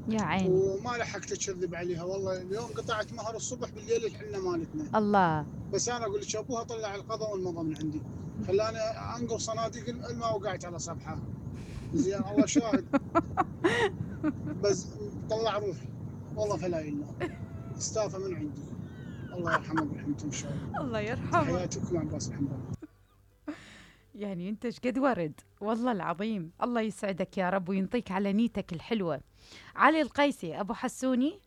يا عيني. وما لحقت اكذب عليها، والله اليوم قطعت مهر الصبح بالليل الحنه مالتنا. الله. بس انا اقول لك ابوها طلع القضاء والمضى من عندي، خلاني انقل صناديق الماء وقعت على صبحه. زين الله شاهد. بس طلع روحي والله فلا اله، استاذه من عندي. الله يرحمه برحمته ان شاء الله. الله يرحمه. تحياتي لكم عباس الحنبل. يعني انت ايش قد ورد، والله العظيم. الله يسعدك يا رب وينطيك على نيتك الحلوة. علي القيسي ابو حسوني.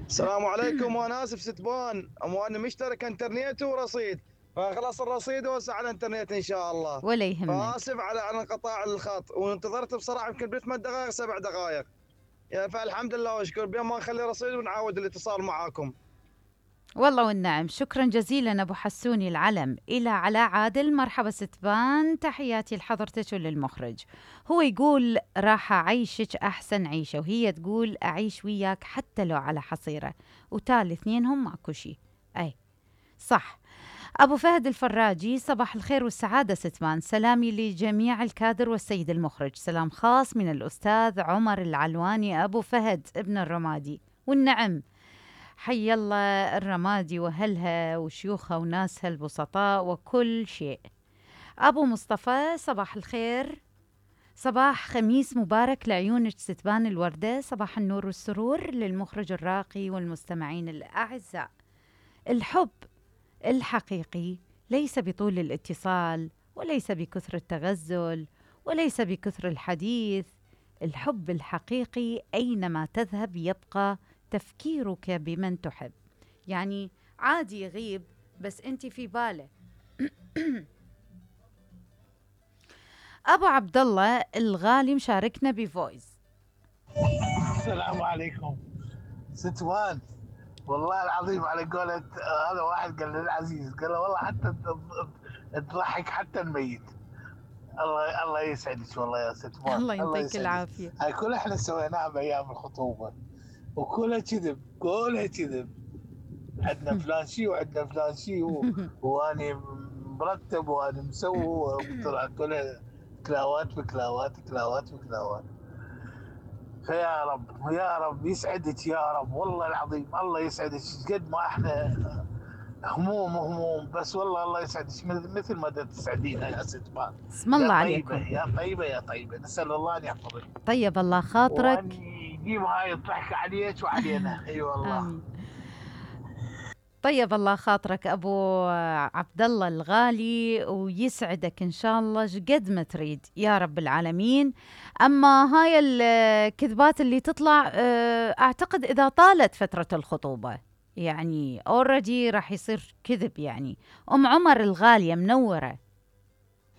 السلام عليكم، وانا اسف ستبان، وانا مشترك انترنت ورصيد، فخلاص الرصيد وسع على الانترنت ان شاء الله. ولا يهمك. فاسف على انقطاع الخط، وانتظرت بصراحه يمكن ب8 دقائق 7 دقائق، يعني فالحمد لله واشكر، بين ما نخلي رصيد ونعود الاتصال معاكم. والله والنعم، شكرا جزيلا ابو حسوني العلم. الى علاء عادل، مرحبا ستبان، تحياتي لحضرتك وللمخرج. هو يقول راح اعيشك احسن عيشه، وهي تقول اعيش وياك حتى لو على حصيره، وتالي اثنينهم ماكو شي. اي صح. ابو فهد الفراجي، صباح الخير والسعاده ستبان، سلامي لجميع الكادر والسيد المخرج، سلام خاص من الاستاذ عمر العلواني ابو فهد ابن الرمادي. والنعم، حي الله الرمادي وأهلها وشيوخها وناسها البسطاء وكل شيء. أبو مصطفى، صباح الخير، صباح خميس مبارك لعيونك ستبان الوردة، صباح النور والسرور للمخرج الراقي والمستمعين الأعزاء. الحب الحقيقي ليس بطول الاتصال، وليس بكثر التغزل، وليس بكثر الحديث. الحب الحقيقي أينما تذهب يبقى تفكيرك بمن تحب. يعني عادي يغيب بس انت في باله. ابو عبد الله الغالي مشاركنا بفويس. السلام عليكم ستوان. والله العظيم على قولة هذا واحد قال للعزيز، قال له والله حتى تضحك حتى الميت. الله يسعدك والله يا ستوان، الله الله يعطيك يسعدك. العافيه. هاي كلها احنا سويناها بايام الخطوبه، وكلها كذب، كلها كذب. عندنا فلان شي وعندنا فلان شي واني مرتب واني مسوي، طلع كلها كلاوات بكلاوات كلاوات بكلاوات. فيا رب يا رب يسعدك يا رب، والله العظيم الله يسعدك. قد ما احنا هموم بس والله الله يسعدك مثل ما تسعدينا يا ست مان. اسم يا الله طيبه عليكم. يا طيبه يا طيبه، نسال الله ان يحفظك طيب الله وان خاطرك. يجيب هاي الضحكه عليك وعلينا. اي والله. امين. طيب الله خاطرك ابو عبد الله الغالي، ويسعدك ان شاء الله قد ما تريد يا رب العالمين. اما هاي الكذبات اللي تطلع اعتقد اذا طالت فترة الخطوبة يعني اوريدي راح يصير كذب. يعني ام عمر الغالية منورة.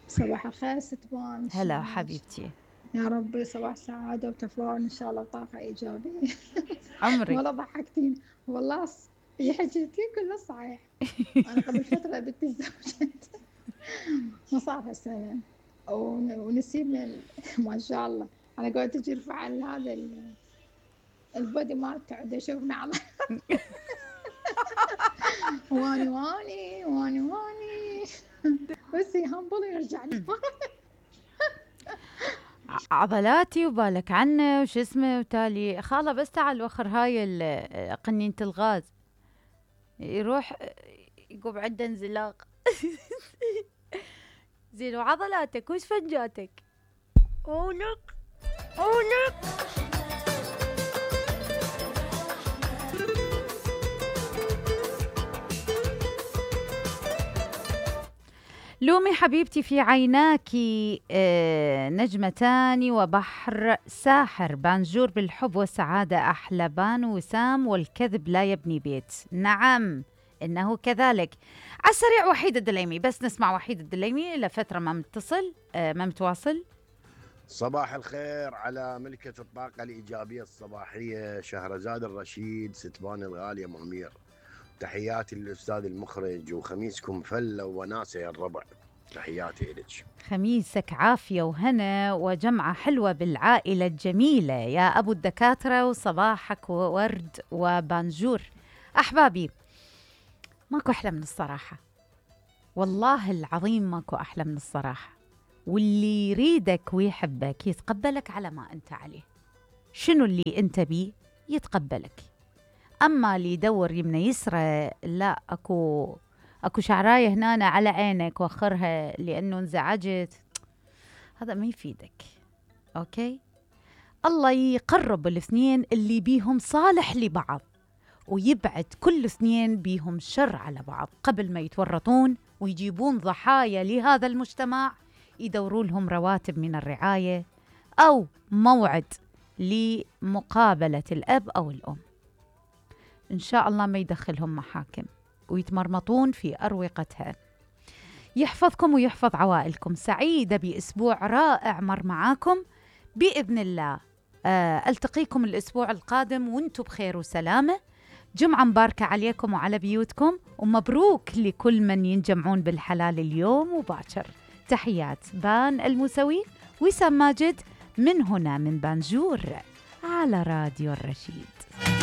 صباح الخير ستبان. هلا حبيبتي. يا رب صباح سعادة وتفاؤل إن شاء الله وطاقة إيجابية. عمرك. والله ضحكتيني والله. حكيتي كله صحيح. أنا قبل فترة بنتي تزوجت ما صار هالسنة، ونسيب ما شاء الله أنا قلت تجي يرفع هذا البودي مالته عنده يشوفنا على واني بس يهمبل يرجع لي. عضلاتي وبالك عنه وش اسمه وتالي خاله، بس تعال وخر هاي قنينة الغاز يروح يقوم عنده انزلاق. زين وعضلاتك وش فنجاتك؟ اولك لومي حبيبتي في عيناك نجمتان وبحر ساحر، بانجور بالحب والسعادة أحلى بان وسام، والكذب لا يبني بيت. نعم إنه كذلك. على السريع وحيد الدليمي، بس نسمع وحيد الدليمي لفترة ما متصل ما متواصل. صباح الخير على ملكة الطاقة الإيجابية الصباحية شهرزاد الرشيد ستبان الغالية مهمير. تحياتي للأستاذ المخرج، وخميسكم فلة وناسة يا الربع. تحياتي إلك. خميسك عافية وهنا وجمعة حلوة بالعائلة الجميلة يا أبو الدكاترة، وصباحك ورد وبانجور. أحبابي ماكو أحلى من الصراحة، والله العظيم ماكو أحلى من الصراحة. واللي يريدك ويحبك يتقبلك على ما أنت عليه. شنو اللي أنت بيه يتقبلك. أما اللي يدور يمنى يسرى، لا أكو شعراية هنا على عينك وأخرها لأنه انزعجت، هذا ما يفيدك. أوكي، الله يقرب الاثنين اللي بيهم صالح لبعض، ويبعد كل اثنين بيهم شر على بعض قبل ما يتورطون ويجيبون ضحايا لهذا المجتمع، يدوروا لهم رواتب من الرعاية أو موعد لمقابلة الأب أو الأم. إن شاء الله ما يدخلهم محاكم ويتمرمطون في أروقتها. يحفظكم ويحفظ عوائلكم. سعيدة بأسبوع رائع مر معاكم بإذن الله. ألتقيكم الأسبوع القادم وانتم بخير وسلامة. جمعة مباركة عليكم وعلى بيوتكم، ومبروك لكل من ينجمعون بالحلال اليوم وباكر. تحيات بان الموسوي، وسام ماجد من هنا من بانجور على راديو الرشيد.